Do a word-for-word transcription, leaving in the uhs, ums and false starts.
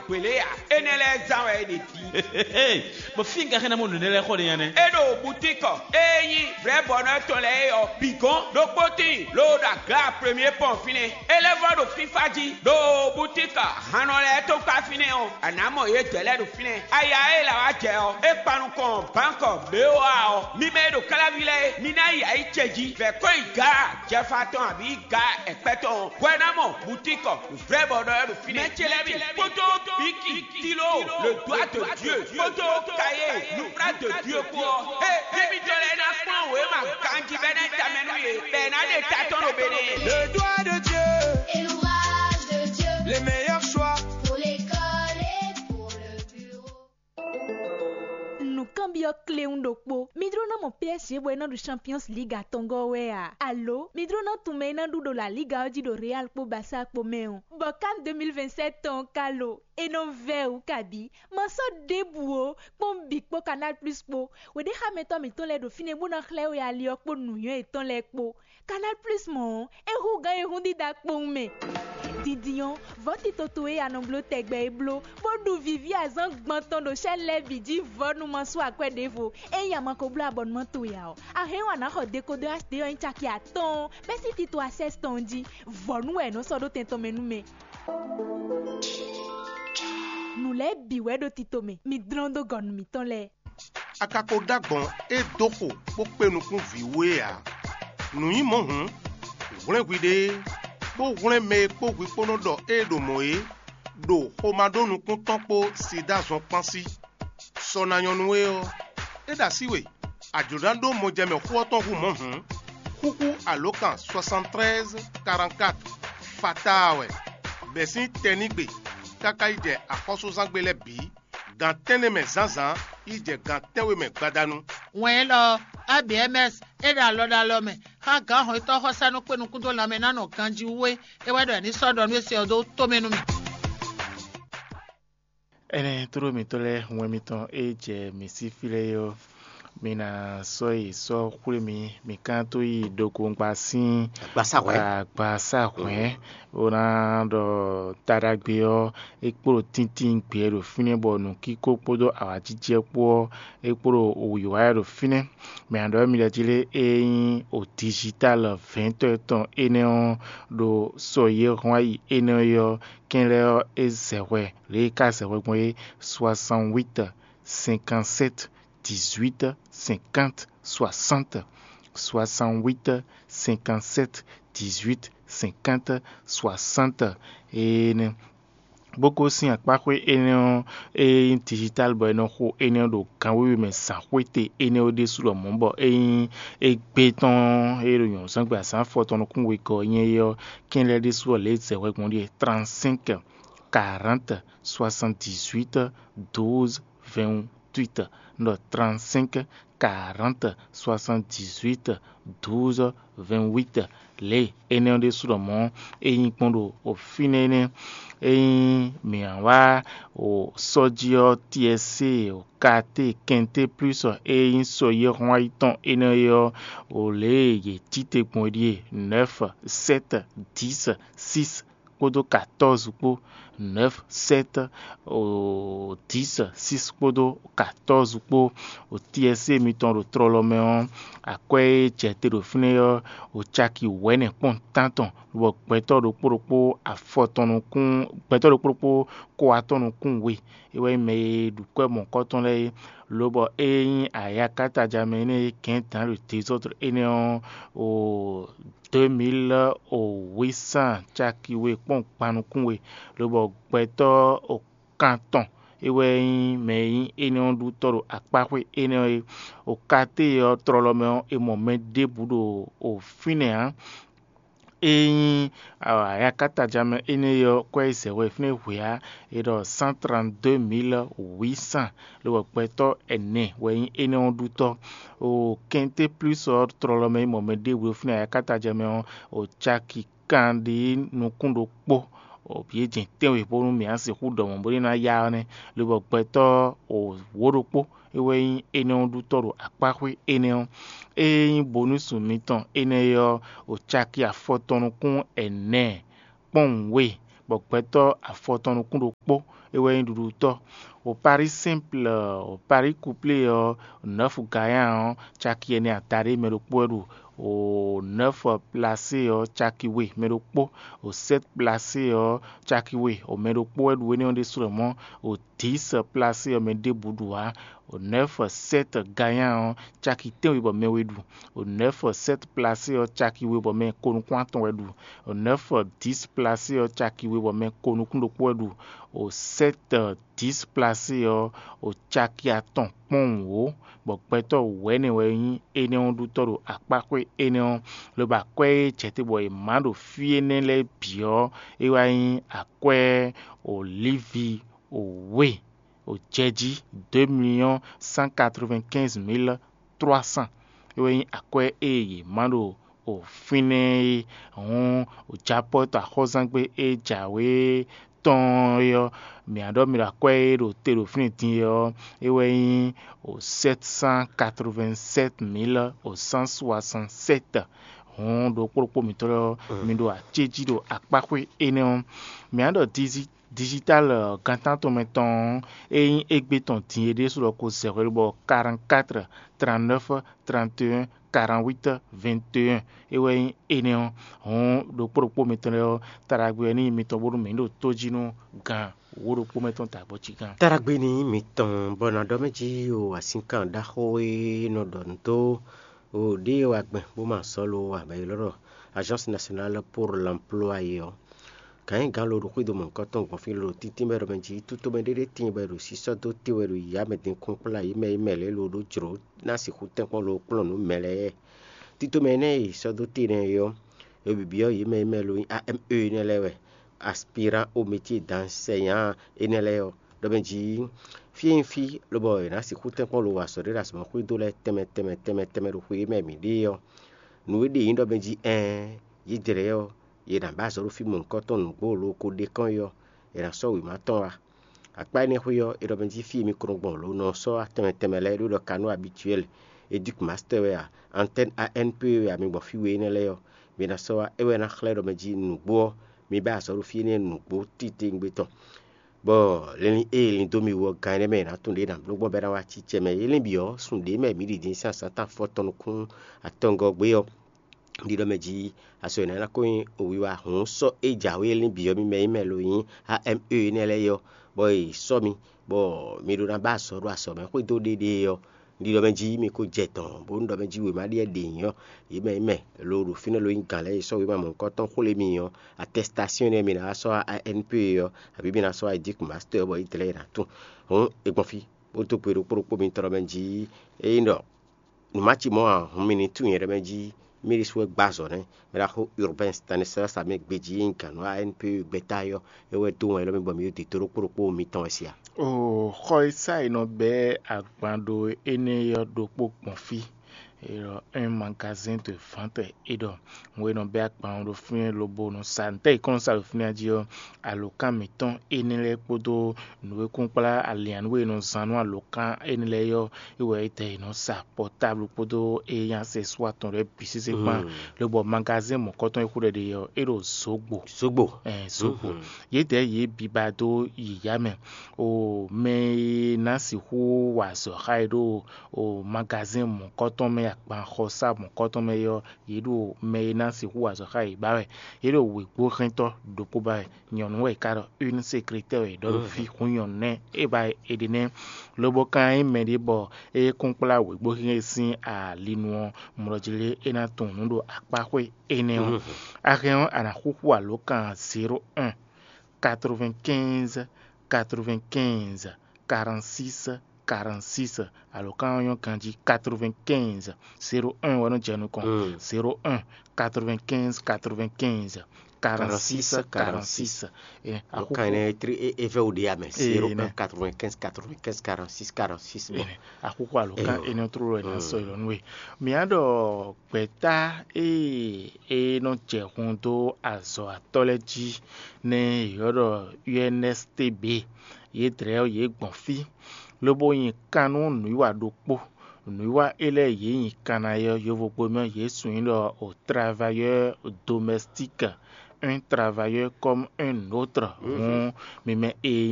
Hwelé ǎ, énɛ́ lɛ́ɛ zán wɛ é ɖe din. Bɔ fí un ka xɛ́ ná mɔ nǔ énɛ́ lɛ́ɛ xɔ ɖe nya nɛ́? É ɖo butíkɔ e nyí vrɛ̌bɔnɔ tɔn lɛ́ɛ é ɔ́ bǐ gɔ́n. Ɖokpó tíin ló ɖo aga premier pɔn fínɛ́. É lɛ́ vɔ́ ɖo fífá jí ɖo butíkɔ hannɔ lɛ́ɛ tó kpá fínɛ́ ɔ́, a nǎ mɔ yědɛɛ lɛ́ɛ ɖo fínɛ́. Aya e è lǎ wá jɛ ɔ́, é kpan nukɔn bánkɔ B O A ɔ́. Mi mɛ e ɖo káláví lɛ́ɛ é, mi ná yi ayǐ ce jí. Vɛ̌ kɔn nyi Gaa jɛfa tɔn abǐ Gaa ɛkpɛ́ tɔn ɔ́, hwɛ ná mɔ butíkɔ vrɛ̌bɔnɔ ɔ́ ɖo fínɛ́. Mɛ ce lɛ́ɛ mi kpódó Bíkì, Tílo, le doigt de Dieu, kpódó Kayé, nǔkplá de Dieu kpó ɔ́, é, émítɔn lɛ́ɛ ná kplɔ́n wěma ganjí bɔ é ná tamɛ nú yě, bɔ è nǎ ɖe ta tɔn ɖo Benɛ́ɛ. Le doigt de Dieu, et l'ouvrage de Dieu, les meilleurs choix pour l'école et pour le bureau. Nǔkanbyɔ́ kléwún ɖokpó. Mi jló ná mɔ P S G bɔ é ná ɖu Champions League atɔngɔ́ wɛ a? Alo mi jló ná tunwun mɛ e ná ɖu ɖo La Liga ɔ́ jí ɖo Real kpó Barça kpó mɛ ɔ́? Bɔ CAN deux mille vingt-sept tɔn ɔ́ ka lo? É nɔ vɛ́ wǔ kabǐ. Ma sɔ́ ɖěbǔ ó, kpɔ́n bǐ kpó Canal Plus kpó. Wěɖéxámɛtɔ́ mǐtɔn lɛ́ɛ ɖo fínɛ́ bó ná xlɛ́ we ali ɔ́ kpó nǔnywɛ́ yětɔn lɛ́ɛ kpó. Canal Plus mɔ̌ ɔ́, é hú gǎn e hún dídá kpowun mɛ. Dindin ɔ́, vɔ̌ tito towe e a nɔ bló tɛgbɛ é bló, bó ɖu vǐví azǎn gban tɔn ɖo chaîne lɛ́ɛ bǐ jí vɔ̌ nú ma sú akwɛ́ ɖěvo. Ényí a ma ko bló abɔnumán towe ǎ ɔ́, a hɛn ɔ́ a nǎ xɔ dekodɔ H D ɔ́ nyí caki atɔ́ɔ́n bɛ́ sín tito Access tɔn jí. Vɔ̌ nú wɛ è nɔ sɔ́ ɖó tɛn tɔn mɛ nú mɛ. Nǔ lɛ́ɛ bǐ wɛ ɖo tito mɛ, mi dlɔ́n dó gɔ̌ nú mǐtɔn lɛ́ɛ. A ka ko ɖó agbɔ̌n e dó xo bó kpé nukún vǐ wú é ǎ. Nǔ nyí mɔ̌ hǔn, hwlɛ́n hwiɖée, bó hwlɛ́n mɛ e kpó hwi kpó nɔ ɖɔ ée ɖo mɔ̌ é, ɖo xomá ɖó nukún tɔn kpó Sidáa zɔn kpán sí. Sɔ ná nyɔ́ nú we ɔ́, é ɖo así we, a jlǒ ná ɖó mɔjɛmɛ xó ɔ́ tɔn hú mɔ̌ hǔn, xúxú alǒkan soixante-treize quarante-quatre fatáa wɛ, bɛ̌ sín tɛnígbe káká yi jɛ axɔ́súzángbe lɛ́ɛ bǐ, gan tɛ́nnɛ mɛ zǎnzǎn yi jɛ gan tɛ́nwe mɛ gbadanu. Wɛn élɔ́ ɔ́, A B M S é ɖo alɔ ɖo alɔ mɛ xá gǎn hɔnnyitɔ́ xɔsánú kpé nukún dó lanmɛ ná nɔ ganjí wú é, é wɛ ɖɔ è ní sɔ́ ɖɔ nú é se ɔ́ dó tomɛ nú mì. Énɛ́ tló mǐtɔn lɛ́ɛ wɛn mitɔn e jɛ mǐ sí fí lɛ́ɛ é ɔ́, mi ná sɔ́ yi sɔ́ xwlé mì, mǐ ka tó yi ɖokongba sín Agbasáhwɛ̌. Agbasáhwɛ̌, bó ná ɖɔ taɖagbe ɔ́, é kpló tíntín gbɛ ɖo fínɛ́ bɔ nǔkíko kpódó awǎjijɛ kpó ɔ́, é kpló wǐwá ɖo fínɛ́. Mɛ ǎ ɖɔ mi ɖɔ jí lé, é nyí o digital vɛ̌ntɔ́ tɔn énɛ́ ɔ́ ɖo sɔ e hɔn ayi énɛ́ ɔ́, kɛnlɛ́ ɔ́, é zɛ hwɛ lě e é ka zɛ hwɛ gbɔn é: soixante-huit cinquante-sept dix-huit cinquante soixante, soixante-huit cinquante-sept dix-huit cinquante soixante. Énɛ́ bó ko sín akpáxwé énɛ́ ɔ́, e nyí digital bɔ è nɔ xo énɛ́ ɔ́ ɖo gan wěwe mɛ zǎn xwéte énɛ́ ɔ́ ɖésú lɔmɔ̌, bɔ é nyí égbé tɔn e ɖo nyɔ̌nuzángbe azǎn afɔtɔn nukún wegɔ́ ɔ́ nyí é ɔ́, kɛnlɛ́ ɖésú ɔ́ lě e zɛ hwɛ gbɔn ɖíe: trente-cinq quarante soixante-dix-huit douze vingt-huit. Nɔ trente-cinq quarante soixante-dix-huit douze vingt-huit. Lě énɛ́ ɔ́ ɖésú lɔmɔ̌ é nyí gbɔn ɖo fínɛ́ énɛ́. Ényí mǐ wá o sɔ́ jí ɔ́, T S C, o K T, Quinté Plus e nyí sɔ yi hɔn ayi tɔn énɛ́ é ɔ́, o lě e yě cí te gbɔn é ɖíe: neuf sept dix six kpódó quatorze kpó, neuf sept dix six kpódó quatorze kpó. O T S C mitɔn ɖo tlɔlɔ mɛ ɔ́, akwɛ́ e jɛ te ɖo fínɛ́ ɔ́, o caki wɛ̌nɛ kpɔ́n tántɔn, bɔ gbɛtɔ́ ɖokpó ɖokpó afɔ tɔn nukún, gbɛtɔ́ ɖokpó ɖokpó kó atɔn nukún we. É wɛ nyí mɛ e ɖu kwɛ́ mɔ̌hunkɔtɔn lɛ́ɛ é. Lobɔ ée nyí ayakatajamɛ énɛ́ e kɛ̌n dǎn ɖo dezɔ́dru énɛ́ ɔ́, o deux mille huit cent caki we kpɔ́n gban nukún we, lobɔ gbɛtɔ́ o kan tɔn é wɛ nyí mɛ e nyí énɛ́ ɔ́ ɖutɔ́ ɖo akpáxwé énɛ́ ɔ́ é. O Katée ɔ́ tlɔlɔ mɛ ɔ́, è mɔ mɛ ɖěbǔ ɖo o fínɛ́ ǎ. É nyí ayakatajamɛ énɛ́ ɔ́, kwɛ́ e zɛ hwɛ fínɛ́ hwe ǎ, è ɖɔ cent trente-deux mille huit cents, lobɔ gbɛtɔ́ ɛnɛ wɛ nyí énɛ́ ɔ́ ɖutɔ́. O Kɛnté Plus ɔ́ tlɔlɔ mɛ e mɔ mɛ ɖěbǔ ɖo fínɛ́ ayakatajamɛ ɔ́, o caki kanɖé nukún ɖokpó. O bǐ e jɛn tɛ́nwe bónú mǐ ná sixú ɖɔ mɔ̌ bónú é ná yá ɔ́ nɛ́, lobɔ gbɛtɔ́ o wǒ ɖokpó é wɛ nyí énɛ́ ɔ́ ɖutɔ́ ɖo akpáxwé énɛ́ ɔ́. Ée nyí bonúsu mitɔn énɛ́ é ɔ́, o caki afɔtɔn nukún ɛnɛ kpɔ́nwun we, bɔ gbɛtɔ́ afɔtɔn nukún ɖokpó é wɛ nyí ɖuɖutɔ́. O Paris Simple, o Paris Couplé ɔ́, nɔ́fu Gayan ɔ́, caki ɛnɛ adaɖé mɛ ɖokpó wɛ ɖu. O nɔ́fu Plasé ɔ́, caki we mɛ ɖokpó. O sɛ́t Plasé ɔ́, caki we o mɛ ɖokpó wɛ ɖu énɛ́ ɔ́ ɖésú lɔ mɔ̌. O dǐs Plasé ɔ́, mɛ ɖěbǔ ɖu ǎ. O nɔ́fu sɛ́t Gayan ɔ́, caki tɛ́nwe bɔ mɛ we ɖu. O nɔ́fu sɛ́t Plasé ɔ́, caki we bɔ mɛ ko nukún atɔn wɛ ɖu. O nɔ́fu dǐs Plasé ɔ́, caki we bɔ mɛ ko nukún ɖokpó wɛ ɖu. O sɛ́t dǐs Plasé ɔ́, o caki atɔn kpɔ́n wǔ, bɔ gbɛtɔ́ wɛ̌nɛ wɛ nyí énɛ́ ɔ́ ɖutɔ́ ɖo akpáxwé énɛ́ ɔ́, lobo akwɛ́ e jɛ te bɔ è mǎ ɖo fí énɛ́ lɛ́ɛ bǐ ɔ́, é wá nyí akwɛ́ olívi wěwe, o jɛ jí deux millions cent quatre-vingt-quinze mille trois cents. É wɛ nyí akwɛ́ e yě má ɖo o fínɛ́ é. Hǔn o japɔ́ to axɔ́zángbé e jǎwe tɔn é ɔ́, mǐ á ɖɔ mi ɖo akwɛ́ e ɖo te ɖo fínɛ́ din é ɔ́, é wɛ nyí o sept cent quatre-vingt-sept mille o cent soixante-sept. Hǔn ɖokpó ɖokpó mǐtɔn lɛ́ɛ ɔ́, mi ɖo acéjí ɖo akpáxwé énɛ́ ɔ́. Mǐ á ɖɔ dizi digital gantán tɔn mɛ tɔn ɔ́, é nyí égbé tɔn din é ɖésú lɔ ko zɛ hwenu bɔ quarante-quatre, trente-neuf, trente et un, quarante-huit, vingt et un. É wɛ nyí énɛ́ ɔ́. Hǔn ɖokpó ɖokpó mitɔn lɛ́ɛ ɔ́, taɖagbe wɛ ní nyí mitɔn bónú mǐ ɖo tó jí nú gan wǒ ɖokpó mɛ tɔn dǎgbɔ́ cí gán. Taɖagbe ní nyí mitɔn, bɔ nǎ ɖɔ mɛ jí o asínkan ɖaxó e nɔ ɖɔ nǔ dó o ɖě e wa gbɛn bó ma sɔ́ lo ǎ, bɔ è ylɔ́ ɖɔ Agence Nationale pour l'Emploi é ɔ́. Gǎn e gǎn lo ɖo xwído mɔ̌hunkɔtɔn gbɔn fí lo ɖo tíntín bɔ è ɖɔ mɛ jí, tútomɛ ɖé ɖé tíin bɔ è ɖo sísɔ́ dó te wɛ ɖo yǐyá mɛ din kún kplá yě mɛ e mɛ lě lo ɖó jlǒ ná sixú tɛ́nkpɔ́n lo kplɔ́n nǔ mɛ lɛ́ɛ. Títomɛ énɛ́ e è sɔ́ dó te nɛ́ é ɔ́, è byɔ́ yě mɛ e mɛ lo nyí A M E énɛ́ lɛ́ɛ wɛ, aspirant au métier d'enseignant énɛ́ lɛ́ɛ ɔ́, ɖɔ mɛ jí fí e nyí fí lobɔ è nǎ sixú tɛ́nkpɔ́n lo wa azɔ̌ ɖé ɖo azɔ̌mɛxwé dó lɛ́ɛ tɛnmɛ tɛnmɛ tɛnmɛ tɛnmɛ ɖo xwe e mɛ mǐ ɖe é ɔ́, nǔ e ɖe nyí ɖɔ mɛ jí ɛɛn, yědɛɛ ɔ́, yě ná ba azɔ̌ ɖo fí mɔ̌hunkɔtɔn nǔgbó lo ko ɖe kɔn é ɔ́, è nǎ sɔ́ wěma tɔn wá. Akpá énɛ́ xwé ɔ́, è ɖɔ mɛ jí fí e mi ko nɔ gbɔn lo nɔ sɔ́ tɛnmɛ tɛnmɛ lɛ́ɛ ɖó ɖɔ kanú habituel, éduc master wɛ a, antenne A N P wɛ a, mi gbɔn fí we énɛ́ lɛ́ɛ ɔ́, mi ná sɔ́ wá, é wɛ ná xlɛ́ ɖɔ mɛ jí nǔgbó ɔ́, mi ba azɔ̌ ɖo fí énɛ́ nǔgbó titewungbe tɔn. Bɔ linlin e è lin dó mi wú ɔ́, gan énɛ́ mɛ è nǎ tunwun ɖě è nǎ bló gbɔn bɔ é ná wá acícɛ mɛ. É lɛ́n bǐ ɔ́, sun ɖě mɛ mǐ ɖi din sín azǎn tɔn afɔtɔn nukún atɔngɔ́ gbé ɔ́, ɖiɖɔ mɛ jí azɔ̌ énɛ́ ná ko nyí wiwa hǔn sɔ́ e jǎwe e lɛ́n bǐ ɔ́ mi mɛ nyí mɛ lo nyí A M E énɛ́ lɛ́ɛ é ɔ́, bɔ è sɔ́ mi, bɔ mi ɖó ná ba azɔ̌ ɖo azɔ̌ mɛ xwedó ɖéɖée ɔ́, ɖiɖɔ mɛ jí mi ko jɛ dɔ̌n bónú ɖɔ mɛ jí wěma ɖíe ɖě nyí ɔ́, yě mɛ nyí mɛ lo ɖo fínɛ́ lo nyí gǎn lɛ́ɛ e sɔ́ wěma mɔ̌hunkɔtɔn xwlé mi ɔ́, atɛstasíɔn énɛ́ mi ná wá sɔ́ A N P ɔ́, abǐ mi ná sɔ́ Edík Mastɛ́ɛ bɔ Izlayɛ́li ná tunwun. Hǔn è gbɔn fí, bó dó gbe ɖokpó ɖokpó mitɔn ɖɔ mɛ jí, ényí ɖɔ nǔ ma ci mɔ̌ ǎ, hǔn mi ní tunwun nyɛ ɖɔ mɛ jí mí ɖésú wɛ gbá azɔ̌ nɛ́. Mɛ ɖaxó Urbain Stanislas Amɛ gbejí e nyí gǎn nú A N P gbɛ́ta é ɔ́, é wɛ dó wɛn élɔ́ mɛ bɔ mǐ ɖo dǐdó ɖokpó ɖokpó mitɔn wɛ se a? O xɔ e sá è nɔ bɛ́ agban ɖo énɛ́ ɔ́ ɖokpó gbɔn fí. È ɖɔ un magasin de vente é ɖɔ nǔ e nɔ bɛ́ agban ɔ́ ɖo fínɛ́ lobo nɔ sa ntɛ́ è kɔn nɔ sa ɖo fínɛ́ jí ɔ́, alǒkan mǐtɔn énɛ́ lɛ́ɛ kpódó nǔ e kún kplá alǐannú e è nɔ zán nú alǒkan énɛ́ lɛ́ɛ ɔ́, é wɛ é tɛ è nɔ sa pɔtáblu kpódó e nyí asɛswá tɔn lɛ́ɛ bǐ sésé kpán, lobɔ magazɛ́n mɔ̌kɔtɔn e xú ɖɛ ɖe ɔ́, é ɖo zǒgbo. Zogbo. Ɛn, zǒgbo. Yědɛɛ yě biba dó yǐyá mɛ. O mɛ e ná sixú wa azɔ̌ xá e ɖo o magazɛ́n mɔ̌kɔtɔn mɛ, agbanxɔsá mɔ̌kɔtɔn mɛ é ɔ́, yě ɖo mɛ e ná sixú wa azɔ̌ xá yě ba wɛ. Yě ɖo wěgbóhɛntɔ́ ɖokpó ba wɛ. Nyɔ̌nu wɛ è ka ɖɔ, une secrétaire wɛ è ɖɔ ɖo fí, hun nyɔ̌nu nɛ́ é ba è ɖe nɛ́. Lobo ka nyí mɛɖé bɔ é kún kplá wěgbóhɛn sín alinu ɔ́, mlɔjí lé é ná tunwun nǔ ɖo akpáxwé énɛ́ ɔ́. A hɛn ɔ́, a nǎ xúxú alǒkan zéro un, quatre-vingt-quinze, quatre-vingt-quinze, quarante-six, quarante-six. Alǒkan ɔ́ nyɔ́ ganjí, quatre-vingt-quinze, zéro un wɛ nɔ jɛ nukɔn. Zéro un, quatre-vingt-quinze, quatre-vingt-quinze, quarante-six, quarante-six. Ɛ, alǒkan énɛ́ é vɛ́ wú ɖé amɛ, zéro un, quatre-vingt-quinze, quatre-vingt-quinze, quarante-six, quarante-six. Axúxú alǒkan énɛ́ tlóló wɛ ná sɔ́ yi lɔ nú we. Mǐ á ɖɔ gbɛ̌ta e e nɔ jɛ hun dó azɔ̌watɔ́ lɛ́ɛ jí nɛ́ è ylɔ́ ɖɔ U N S T B, yě dlɛ́ ɔ́, yě gbɔn fí, lobo nyi kan nú nǔwiwa ɖokpó. Nǔwiwa élɔ́ e yě nyi kan ná é ɔ́, yovogbe mɛ yě sun nyí ɖɔ o travailleur domestique, un travailleur comme un autre. Hǔn mi mɛ e